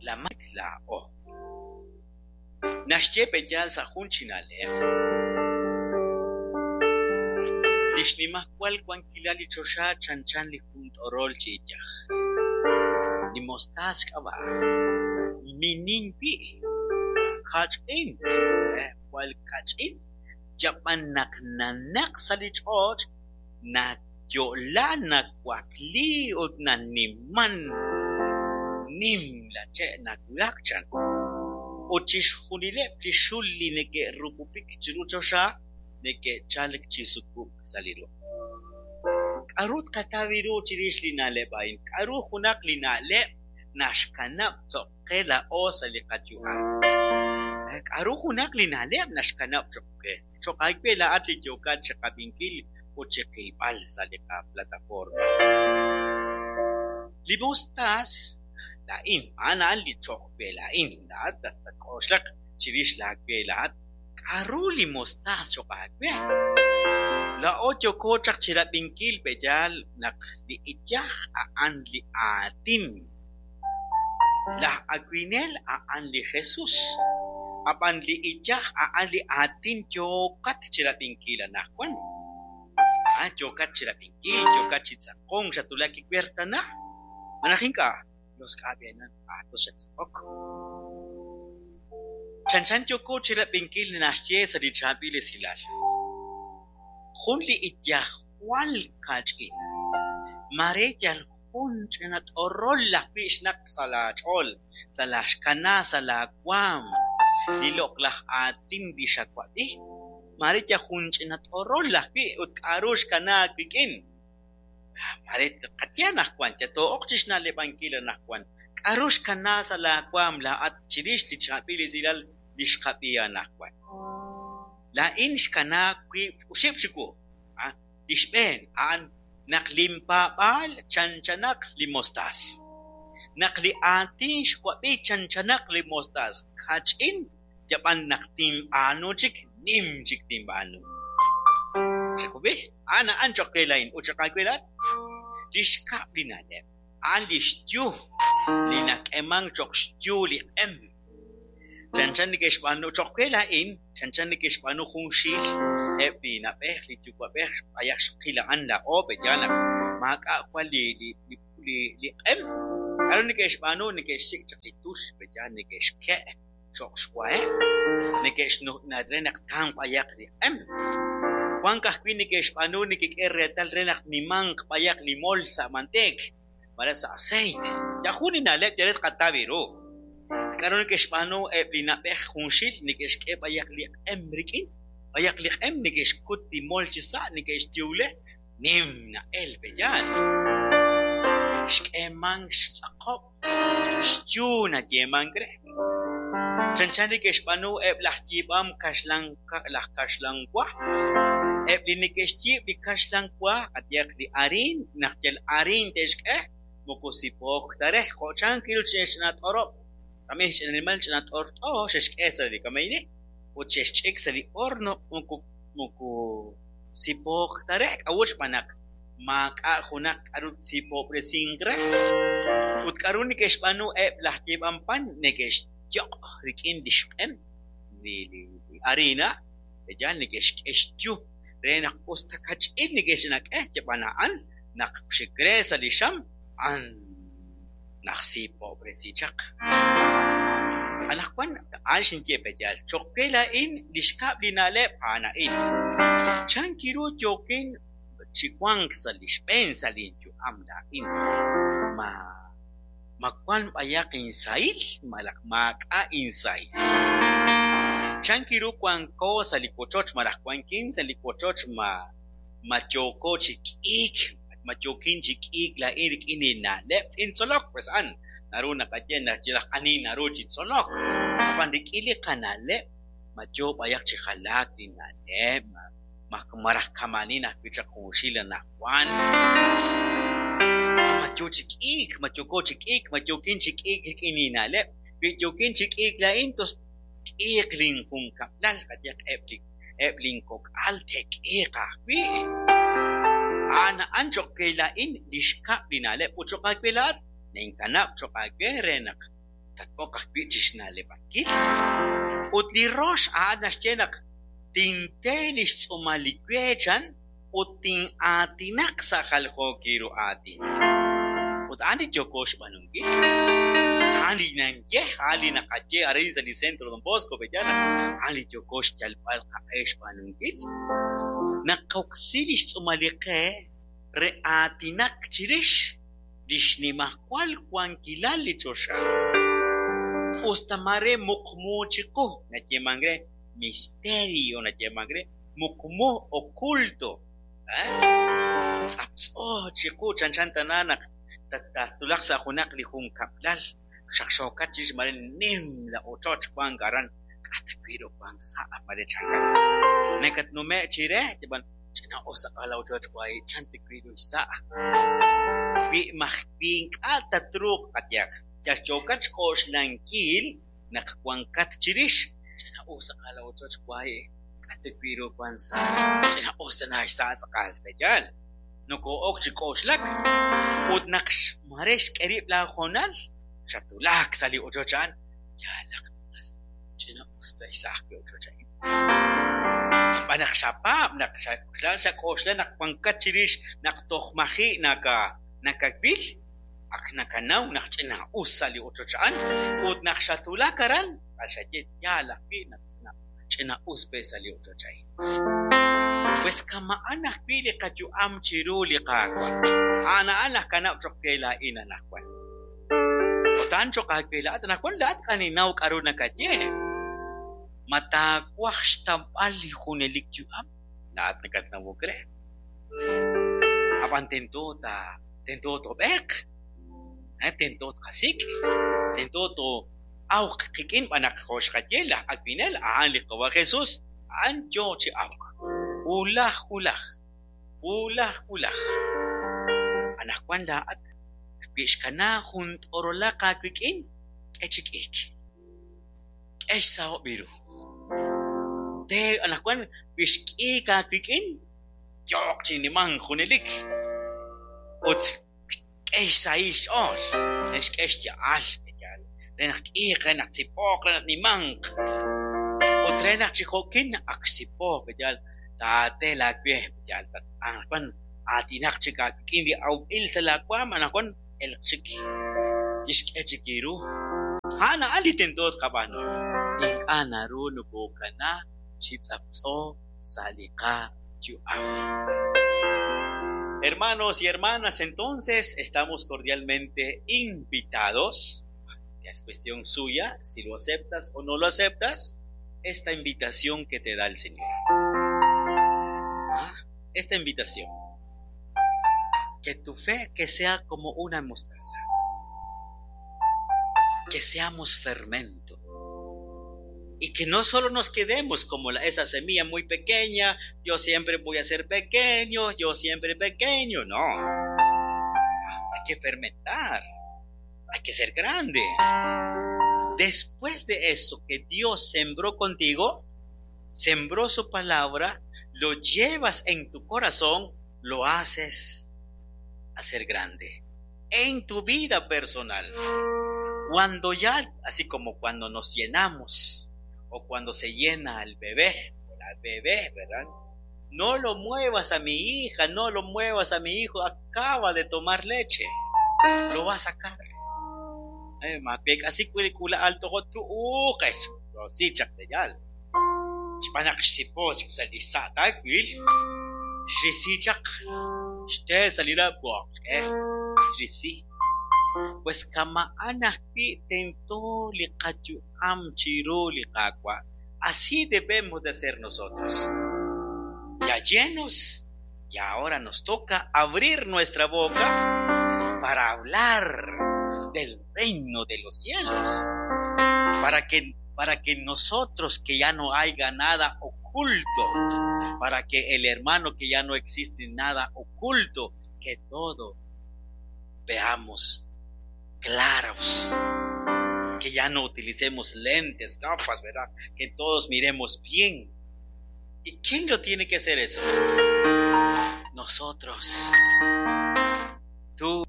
La mak laa'o. Naxye pe'yaal sa' jun chi na'leb', li xnimajwal wankilal li choxa chanchan li jun t'orol chi iyaj. Li mostaas xk'ab'a'. Minin wi'. Kach'in. Jwal kach'in. Yab'an naq nanaq sa' li ch'och' nayo'la nawakli ut naniman. Nim la che' nawulak chan. Ut chixjunileb' li xul li neke'rupupik chiru choxa neke'chalk chi sukub'k sa' li ruq'. K'aru tqataw ru chirix li na'leb' a'in? K'aru junaq li na'leb' naxkanab' cho'q qe laa'o sa' li qayu'am? K'aru junaq li na'leb' naxkanab' cho'q qe? Cho'q aawe laa'at li yookat chiqab'inkil ut chiqilb'al sa' li qaplataforma. Li mostaas laa'in, a'an a'an li cho'q we laa'in. Laa'at tatk'oxlaq chirix laawe laa'at. K'aru li mostaas cho'q aawe? Laa'o yooko chaq chirab'inkil pe'yaal naq li iyaj a'an li aatin. Laj awinel a'an li Jesús. Ab'an li iyaj a'an li aatin yookat chirab'inkil anaqwan. Yookat chirab'inkil, yookat chi tz'aqonk, xatwulak kiwer tana. Malaj ink'a', los k'ab'enan aatos xattz'aqok. Chanchan yooko chirab'inkil naxye sa' li chaab'il esilal. Jun li iyaj jwal kach'in. Mare yal jun ch'ina t'orol ajwi' xnaq sa' laach'ool, sa' laaxkana, sa' laawaam. Li loq'laj aatin li xawab'i. Mare yal jun ch'ina t'orol ajwi' ut k'aru xkanaak wik'in. Mare qaye anaqwan, yatoo'oq chi xna'leb'ankil anaqwan. K'aru xkana sa' laawaam laa'at chirix li chaab'il esilal li xqab'i anaqwan. Laa'in xkanaak wiib' oxib' chiwu. Li xb'een a'an naq linpaab'aal chanchanaq li mostaas. Naq li aatin xwab'i chanchanaq li mostaas. Kach'in yab'an naq tinb'aanu chik, nim chik tinb'aanu. Xawab'i? A'an a'an cho'q we laa'in ut cho'q aawe laa'at. Li xkab' li na'leb' a'an li xyu li nak'emank cho'q xyu li q'em. Chanchan neke'xb'aanu cho'q we laa'in, chanchan neke'xb'aanu jun xiil eb' li na'b'ej, li yuwa'b'ej b'ayaq xqil a'an laa'o pe'yaal naq maak'a' jwal li q'em. K'aru neke'xb'aanu? Neke'xsik' chaq li tul pe'yaal neke'xke' cho'q xwaheb', neke'xnu' re naq tamq b'ayaq li q'em. Wank ajwi' neke'xb'aanu nekek'e reetal re naq nimanq b'ayaq li mol sa' manteek, malaj sa' aceite. Yal jun li na'leb' yal re tqataw ru. K'aru neke'xb'aanu eb' li na'b'ej junxil neke'xk'e b'ayaq li q'em rik'in, b'ayaq li q'em neke'xkut li mol chi sa' neke'xyuwle, nim na'el pe'yaal. Xk'eemank xtz'aqob', xyu nayeemank re. Chanchan neke'xb'aanu eb' laj yiib'am kaxlan laj kaxlan wa. Eb' li neke'xyiib' li kaxlan wa, qayehaq li hariin, naq yal hariin te'xk'e, moko sipook ta re. Jo' chan kiru ch'ina t'orob'. Kamey ch'ina nimal ch'ina t'ort'o xe'xk'e sa' li kameyni ut xe'xch'ik sa' li horno moko sipook ta re. K'a'ut xb'aan naq maak'a' junaq k'aru tsipob'resink re. Ut k'aru neke'xb'aanu eb' laj yiib'am pan neke'xyoq' rik'in li xq'em li harina, yal neke'xk'e xyu re naq us ta kach'in neke'xnak'e yab'an a'an naq xik re sa' li xam a'an najsipob'resi chaq. Anaqwan a'an xinye pe'yaal cho'q we laa'in li xkab' li na'leb' a'an a'in. Chan kiru yookin chi wank sa' li xb'een sa' linyu'am laa'in. Ma wank b'ayaq insahil malaj maak'a' insahil. Chan kiru wanko sa' li wochoch malaj wankin sa' li wochoch ma yooko chi k'iik, ma yookin chi k'iik laa'in rik'in li na'leb' tintzolok pues a'an naru naqaye naq yalaq ani naru chi tzolok. Ab'an rik'in li qana'leb' ma yoo b'ayaq chi jalaak li na'leb', malaj kama'anin ajwi' chaq junxil anaqwan. Ma yoo chi k'iik, ma yooko chi k'iik, ma yookin chi k'iik rik'in li na'leb'. Wi yookin chi k'iik laa'in tos k'iiq linjunkab'lal qayehaq eb' linkok'al te'k'iiq ajwi'. A'an a'an cho'q we laa'in li xkab' li na'leb' ut cho'q aawe laa'at ninkanab' cho'q aawe re naq Tat-ok ajwi' chi xna'leb'ankil. Ut li rox a'an naxye naq tinte li xtz'uumal li we chan ut tin'aatinaq sa' jaljookil ru aatin. Ut a'an li yooko xb'aanunkil. A'an li ninye, a'an li naqaye arin sa' li Centro Don Bosco, pe'yaal naq a'an li yooko xyalb'al qaq'e xb'aanunkil. Naqoksi li xtz'uumal li qe re aatinak chirix li xnimajwal wankilal li choxa. Usta mare muqmu chiqu, nayeemank re misterio, nayeemank re muqmu oculto. Tz'aptz'o chiqu chanchan tana naq tatulaq sa' junaq li junkab'lal xaqxookat chirix mare nim la ochoch wank aran k'a' ta wi' ru wank sa' mare chankat. Nakatnume' chire yab'an ch'ina-us tz'aqal la ochoch wahi' chan ta wi' ru xsa'. Wi maj wi ink'a' tatruuq qayehaq yal yookat xk'oxlankil naq wankat chirix ch'ina-us tz'aqal la ochoch wahi' k'a' ta wi' ru wank sa' ch'ina-us tana xsa' tz'aqal pe'yaal. Nokoo'ok chi k'oxlak ut naq mare xk'e rib' laahoonal xatwulak sa' li ochoch a'an yaalaq tz'aqal ch'ina-us pe' xsa' ajwi' ochoch a'in. Xb'aan naq xapaab' naq xak'oxla xak'oxla naq wankat chirix naq toj maji' nakawil ak nakanaw naq ch'ina-us sa' li ochoch a'an ut naq xatwulak aran tz'aqal xaye yaal ajwi' naq ch'ina-us pe' sa' li ochoch a'in. Pues kama'an ajwi' li qayu'am chiru li Qaawa'. A'an a'an najkanab' cho'q we laa'in anaqwan. Ut a'an cho'q aawe laa'at anaqwan laa'at k'a ninnaw k'a'ru nakaye. Ma taawaj xtawb'al li junelik yu'am? Laa'at nakatnawok re. Ab'an tento ta tento toob'eeq. Tento tqasik'. Tento too'awq qik'in b'an naq jo' xqaye laj awinel a'an li Qawa' Jesús a'an yoo chi awk. Wulaj wulaj. Wulaj wulaj. Anaqwan laa'at wi xkana jun t'orolaq aawik'in k'e chi k'iik. K'e xsahob' ru. Te anaqwan wi xk'iik aawik'in yooq chi nimank junelik. Ut k'e xsahil xch'ool, re xk'e xya'al, re naq k'iiq, re naq tsipoq, re naq nimanq. Ut re naq chi jo'kin ak xsipoq, pe'yaal taate laawe, pe'yaal anaqwan aatinaq chik aawik'in li awb'il sa' laawaam anaqwan elq chik tixk'e chik eeru. A'an a'an li tento tqab'aanu. Ink'a' naru nokokana chi tz'aptz'o sa' li qayu'am. Hermanos y hermanas, entonces estamos cordialmente invitados. Ya es cuestión suya, si lo aceptas o no lo aceptas, esta invitación que te da el Señor. Ah, esta invitación. Que tu fe que sea como una mostaza. Que seamos fermento. Y que no solo nos quedemos como esa semilla muy pequeña, yo siempre voy a ser pequeño, yo siempre pequeño. No. Hay que fermentar. Hay que ser grande. Después de eso que Dios sembró contigo, sembró su palabra, lo llevas en tu corazón, lo haces hacer grande. En tu vida personal. Cuando ya, así como cuando nos llenamos, o cuando se llena el bebé, o la bebé, ¿verdad? No lo muevas a mi hija, no lo muevas a mi hijo, acaba de tomar leche. Lo va a sacar. Así kula alto ko tu ukesh. Si chak de yal. Xb'aan xsipos sa li sa' taawil, xrisi chaq xte sa' li lab' xrisi. Pues kama'an ajwi' tento li qayu'am chiru li Qaawa'. Así debemos de ser nosotros. Ya llenos, y ahora nos toca abrir nuestra boca para hablar del reino de los cielos. Para que nosotros que ya no haya nada oculto, para que el hermano que ya no existe nada oculto, que todo veamos claros, que ya no utilicemos lentes, gafas, ¿verdad? Que todos miremos bien. ¿Y quién lo tiene que hacer eso? Nosotros. Tú.